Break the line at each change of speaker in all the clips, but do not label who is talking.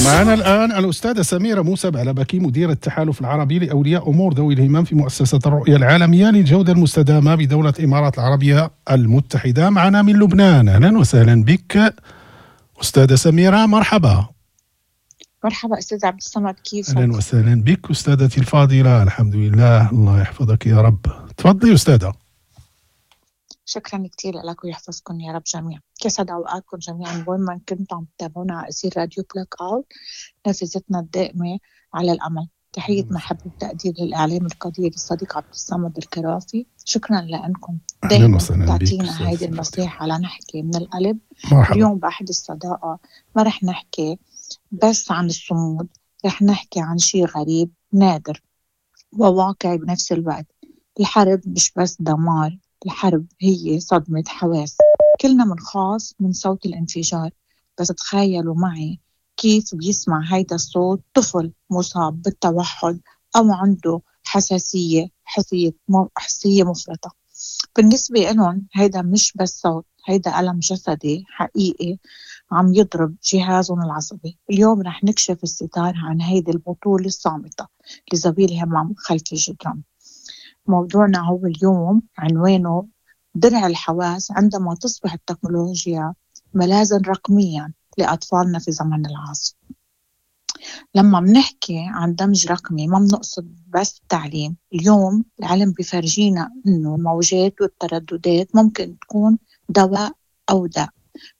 معنا الآن الأستاذة سميرة موسى بعلبكي، مدير التحالف العربي لأولياء أمور ذوي الهمم في مؤسسة الرؤية العالمية للجودة المستدامة بدولة الإمارات العربية المتحدة، معنا من لبنان. أهلا وسهلا بك أستاذة سميرة، مرحبا.
مرحبا أستاذ عبد الصمد، كيفك؟
أهلا وسهلا بك أستاذتي الفاضلة، الحمد لله، الله يحفظك يا رب. تفضلي أستاذة.
شكرا كثير لك ويحفظكم يا رب جميعا. يسعد اوقاتكم جميعا وين ما كنتم عم تتابعونا على اثير راديو بلاك اوت، نافذتنا الدائمة على الامل. تحية محبة وتقدير للاعلام القدير الصديق عبد الصمد الكرافي، شكرا لانكم دائما تعطينا هيدي المساحة لنحكي من القلب. مرحبا. اليوم بأحد الصداقة ما رح نحكي بس عن الصمود، رح نحكي عن شيء غريب نادر وواقعي بنفس الوقت. الحرب مش بس دمار، الحرب هي صدمة حواس. كلنا منخاف من صوت الانفجار، بس تخيلوا معي كيف بيسمع هيدا الصوت طفل مصاب بالتوحد أو عنده حساسية حسية مفرطة. بالنسبة لهم هيدا مش بس صوت، هيدا ألم جسدي حقيقي عم يضرب جهازهم العصبي. اليوم رح نكشف الستار عن هيدي البطولة الصامتة لذوي الهمم خلف الجدران. موضوعنا هو اليوم عنوانه درع الحواس عندما تصبح التكنولوجيا ملاذا رقميا لأطفالنا في زمن العاصفة. لما بنحكي عن دمج رقمي ما بنقصد بس التعليم. اليوم العلم بفرجينا إنه الموجات والترددات ممكن تكون دواء أو داء.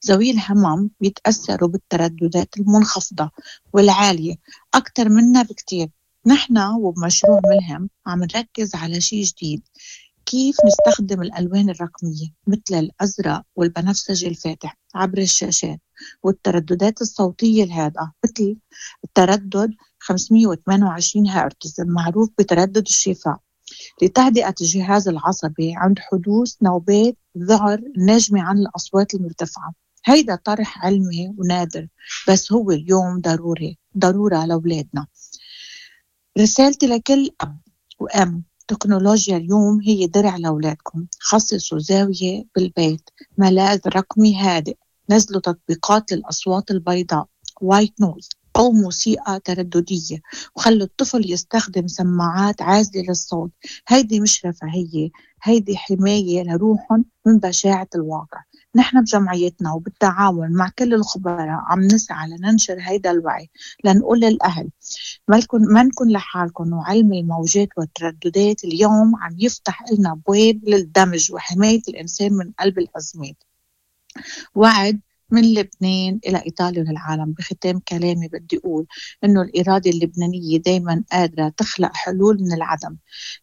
ذوي الهمم بيتأثروا بالترددات المنخفضة والعالية أكثر منا بكتير. نحن وبمشروع ملهم عم نركز على شيء جديد، كيف نستخدم الألوان الرقمية مثل الأزرق والبنفسجي الفاتح عبر الشاشات، والترددات الصوتية الهادئة مثل التردد 528 هرتز المعروف بتردد الشفاء، لتهدئة الجهاز العصبي عند حدوث نوبات ذعر ناجمة عن الأصوات المرتفعة. هيدا طرح علمي ونادر، بس هو اليوم ضروري، ضرورة لأولادنا. رسالتي لكل أب وأم، تكنولوجيا اليوم هي درع لأولادكم. خصصوا زاوية بالبيت، ملاذ رقمي هادئ، نزلوا تطبيقات للأصوات البيضاء white noise أو موسيقى ترددية، وخلوا الطفل يستخدم سماعات عازلة للصوت. هيدي مش رفاهية، هيدي حماية لروحهم من بشاعة الواقع. نحن بجمعيتنا وبالتعاون مع كل الخبراء عم نسعى لننشر هيدا الوعي، لنقول للأهل ما نكون لحالكم. وعلم الموجات والترددات اليوم عم يفتح لنا أبواب للدمج وحماية الإنسان من قلب الأزمات. وعد من لبنان إلى إيطاليا وللعالم. بختام كلامي بدي أقول إنه الإرادة اللبنانية دايما قادرة تخلق حلول من العدم.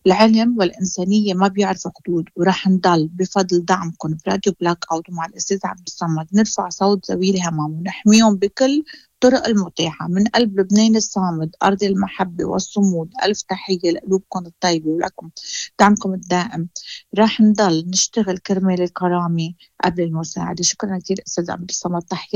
العلم والإنسانية ما بيعرفوا حدود، ورح نضل بفضل دعمكم براديو بلاك أوت ومع الأستاذ عبد الصمد نرفع صوت ذوي الهمم ونحميهم بكل الطرق المتاحة. من قلب لبنان الصامد، أرض المحبة والصمود، ألف تحية لقلوبكم الطيبة ولكم دعمكم الدائم. راح نضل نشتغل كرمال الكرامة قبل المساعدة. شكرا كثير أستاذ عبد الصمد، تحية.